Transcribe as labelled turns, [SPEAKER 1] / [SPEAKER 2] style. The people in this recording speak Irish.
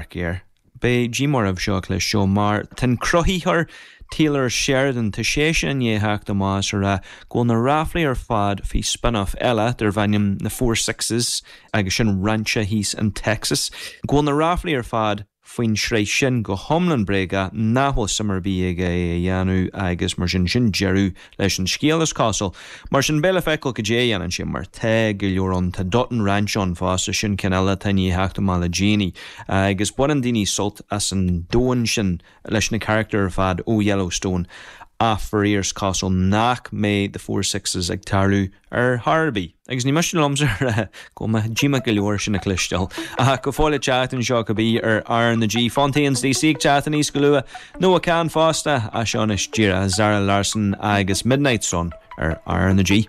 [SPEAKER 1] dearcaidh air. Beidh díomá oraibh seo a chloisteáil mar tá an cruthaitheoir Taylor Sheridan, tá seisean i ndiaidh theacht amach is a rá go bhfuil na ráflaí ar fad faoi spin-off eile darb ainm na Four Sixes agus sin rainse thíos in Texas, go bhfuil na ráflaí ar fad faoin sraith sin go hiomlán bréagach, nach bhfuil suim ar bith aige é a dhéanamh agus mar sin, sin deireadh leis an scéal is cosúil. Mar sin, beidh le feiceáil cad é a dhéanann sé mar tá go leor ann, tá Dutton Ranch ann fosta, sin ceann eile atá i ndiaidh theacht amach le déanaí agus baineann daoine sult as an domhan sin leis na carachtair ar fad ó Yellowstone ach faraor is cosúil nach mbeidh The Four Sixes ag tarlú ar chor ar bith. Agus ní miste liomsa a rá go bhfuil mé díomách go leor sin a chloisteáil. Ach go fóill ag teacht anseo cibé ar R na G. Fontaines DC ag teacht aníos go luath. Noah Kahan fosta. Ach seo anois díreach Zara Larsson agus Midnight Sun ar R na G.